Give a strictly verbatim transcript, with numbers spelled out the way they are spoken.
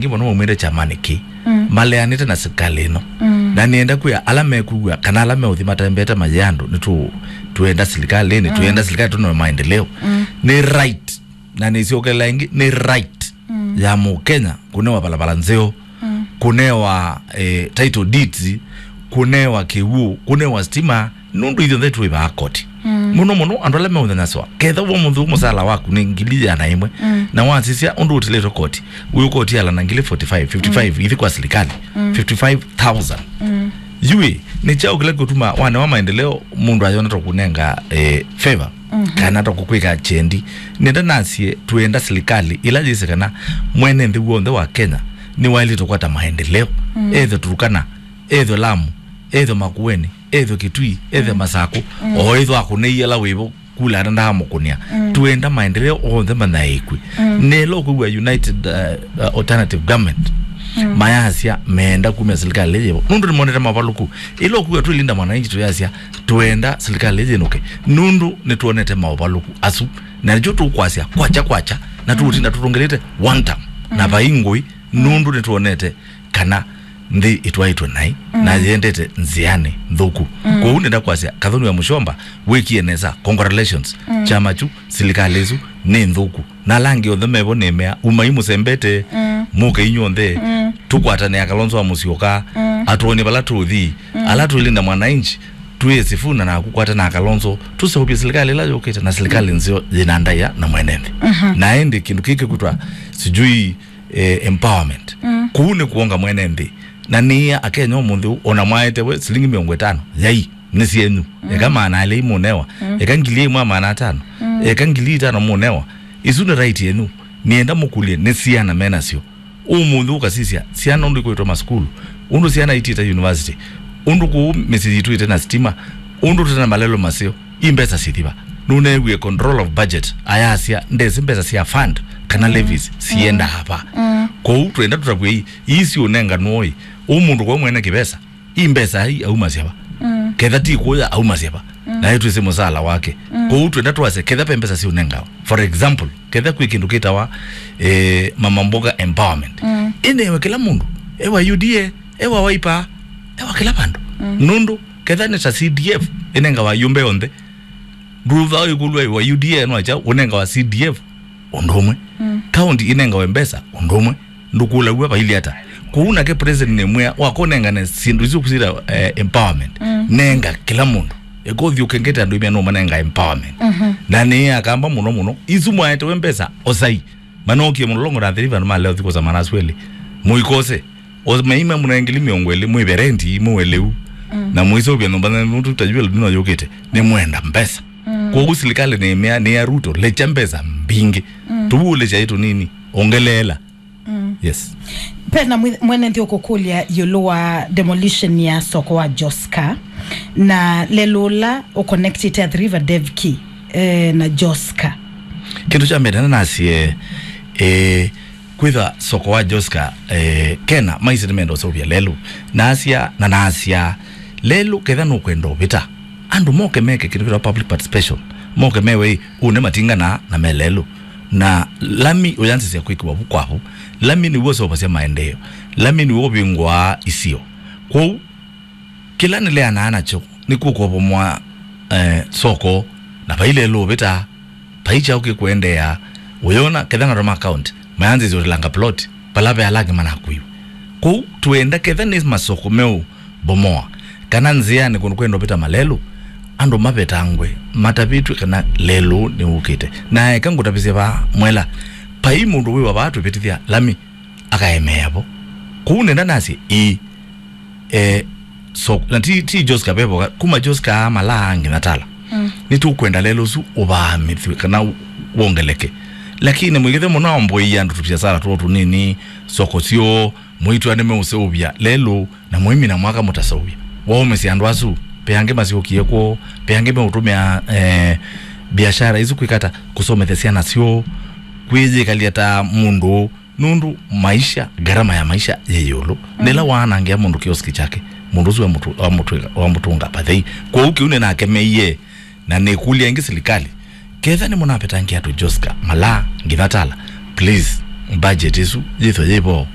Ngi mũno maumĩte kyamani kĩ, mm, maleanĩte na silikalĩ ĩno. Mm. Na nĩenda kwĩa ala mekwĩw'a kana ala meũthi matembete mayĩ andũ, nĩtũ-, twenda silikalĩnĩ, mm, twenda silikalĩ tũnoe maendeleo. Mm. Nĩ right, na nĩsyokelela ĩngĩ, nĩ right, mm, ya Mũkenya kũnewa valala nzeo, mm, kũnewa, eh, title deeds, kũnewa kĩw'ũ, kũnewa stima, nũndũ ithyonthe twĩvaa koti. Mm. Mũno mũno andũ ala meũnyanyaswa. Ketha w'o mũndũ mũsala waku nĩ ngili ĩana ĩmwe, mm, na wasisya ũndũ ũtilĩtwe koti, wĩ ũkoti ala na ngili forty-five, fifty-five, mm, ithi kwa silikalĩ, mm, fifty-five thousand. Mm. Yui, nĩ kyaũ kĩla kĩtuma wanewa maendeleo mũndũ ayona ta kũnenga, eh, favor, mhm, kana ta kũkwĩka kyendi? Nenda nasye, twenda silikalĩ ĩla yĩsĩ kana mwene nthĩ w'onthe wa Kenya nĩwaĩlĩte kũkwata maendeleo. Mm. Ethwe Turkana, ethwe Lamu, ethwe Makueni, ethwe Kitui, ethwe, mm, Masaku, mm, o ethwe akũnĩie ala wĩvo kula ata ndaamũkũnĩa. Mm. Twenda maendeleo onthe manyaĩĩkw'e. Mm. Nelo kwĩw'a United, uh, uh, Alternative Government, mm, mayasya meenda kumya silikalĩ yĩvo. Nũndũ nĩmonete mavalũku. Ĩla ũkwĩw'a twĩ Linda Mwananchi tũyasya twenda silikalĩ yĩnũke. Nũndũ nĩtwonete mavalũku asu. Na nĩkyo tũkwasya kwakya kwakya. Na tũũtinda tũtũngĩlĩte one term. Na, mm, vai ngũĩ. Mm. Nũndũ nĩtwonete kana nthĩ ĩtwaĩtwe naĩ, mm, na yendete nzĩanĩ nthũku. Mm. Kwoou nenda kwasya, Kathoni wa Mũshomba, wĩkie nesa, congratulations. Mm. Kyama kyu, silikalĩ ĩsu, nĩ nthũku. Na ala angĩ onthe mevo nĩmea, umai mũsembete, mm, mũke inyw'onthe, mm, tũkwatanĩa Kalonzo wa Mũsyoka, mm, atwonye vala tũũthi, mm, ala twĩlinda mwananchi, twĩe Sifuna na kũkwata na Kalonzo, tũseũvye silikalĩ ĩla yũkĩte na silikalĩ, mm, nzeo yĩna ndaĩa na mwene nthĩ. Mhm. Na ĩndĩ kĩndũ kĩkĩ kũtwa sijui eh, empowerment. Mm. Kũu nĩ kuonga mwene nthĩ. Na nĩĩa Akenya ũmũnthĩ ũũ, ona mwaete we silingi mĩongo ĩtano, yai, nĩ syenyu. Mm. Eka maana elĩ mũnewa. Mm. Eka ngili ĩmwe maana atano. Mm. Eka ngili itano mũnewa. Isu nĩ right yenyu. Nĩenda mũkũlye nĩ siana menasyo. Ũmũnthĩ ũkasisya, siana ũndũ ikwĩtwa masukulu. Ũndũ siana itiĩte university. Ũndũ kũu mĩsyĩ yitũ ĩte na sitima. Ũndũ tũte na malelo maseo. I mbesa syĩthi va? Nũneewie control of budget ayasya ndesĩ mbesa sya fund kana, mm, levies siendaa va. Mm. Kwoou twenda tũtavw'e ii, ii siũnenganw'o ĩ, ũ mũndũ kwa mwene kĩvesa, i mbesa ai aumasya va? Mm. Ketha ti kũya aumasya va? Mm. Naĩ twĩsĩ mũsala wake. Mm. Kwoou twenda twasya ketha ve mbesa siũnengawa. For example, ketha kwĩ kĩndũ kĩtawa, eh, mama mboga empowerment. Mm. Ĩnewe kĩla mũndũ, ewa U D A, ewa Wiper, ewa kĩla vandũ. Mm. Nũndũ ketha nĩ ta C D F ĩnengawa yũmbe yonthe, ndũva ĩkũlwa wa U D A no kyaũ ũnengawa C D F ũndũ ũmwe. Mm. County ĩnengawe mbesa ũndũ ũmwe. Ndũkũlaw'a vailye ata. Kũu nake president nĩmwĩa wakũnengane syĩndũ isu kũsita, eh, empowerment. Mm. Nenga kĩla mũndũ. Ĩkothi ũkengete andũ imya no manenga empowerment. Mhm. Na nĩ akamba mũno mũno. Isu mwaetewe mbesa osai. Manokie mũlolongo na thĩri vandũ maleo thikũ za manasweli. Mũikose. O meima mũnengili mĩongo ĩlĩ mwĩve rendi, mwĩwe lĩu. Mm. Na mũiseũvya nyũmba na mũtu ta jua lino yũkĩte. Nĩ mwenda mbesa. Mm. Kwoou silikalĩ nĩ mea, nĩ ya Ruto, lekya mbesa mbingĩ. Mm. Tũvuũlĩsya ĩ tũnini, ongeleela. Mm. Yes. Pena mwi-, mwene nthĩ ũkũkũlya ĩũlũ wa demolition ya soko wa Joska. Na lelũ ũla ũconnectĩte Athi River Devki, eh, na Joska. Kĩndũ kya mbee nena nasye, eh, kwĩtha soko wa Joska, eh, kena maisĩ nĩmenda ũseũvya lelũ. Nasya, na nasya, lelũ ketha nũkwenda ũvĩta, andũ moke meke kĩndũ kĩtawa public participation. Moke mewe, ĩ, ũne matinga na, na me lelũ. Na lami ũyanzĩsya kwĩkĩwa vu kwa vu. Lami nĩw'o ũseũvasya maendeeo. Lami nĩw'o ũvingũaa isio. Kwoou, kĩla nĩleanaa nakyo nĩ kũkovomoa, eh, soko, na vai lelũ ũvĩta, vai kyaũ kĩkũendeea. Ũyona, ketha na Roma County, mayanzĩsye ũtilanga plot, vala ve ala angĩ manakuiwe. Kwoou, twenda ketha nĩ masoko meũbomoa, kana nzĩanĩ kũndũ kwenda ũvĩta malelũ, andũ mavetangwe, matavĩtw'e kana lelũ nĩwũkĩte. Na eka ngũtavĩsye vaa, mwela, vai mũndũ wĩwa vaa twĩvĩtĩthya lami, akaemeea vo. Kũu nenda nasye, ĩĩ, eh, so, na ti, ti Joska vevoka, kuma Joska malaa nginya Tala. Mm. Nĩtũkwenda lelũ ũsu ũvaamĩthw'e kana wongeleke. Lakini mũikĩthe mũno amboia andũ tũviasala twoo tũnini, soko syoo, mũitw'a nĩmeũseũvya lelũ, na mũimina mwaka mũtaseũvya. Waũmĩsya andũ asu, ve angĩ masyokie kwoo, ve angĩ meũtũmĩa, eh, biashara isu kwĩkata kũsomethya syana syoo, kwĩyĩkalya ta mũndũ Nũndũ maisha, gharama ya maisha yĩ ĩũlũ. Mm. Nĩla waanangĩa mũndũ kioski kyake, mũndũ ũsu wamũtũ-, wamũtwĩka, wamũtũnga pathei. Kwoou kĩu nĩnakemeie, na nĩkũlya ĩngĩ silikalĩ, ketha nĩmũnavetangia andũ Joska, Malaa, nginya Tala, please, budget ĩsu yĩthwe yĩvo.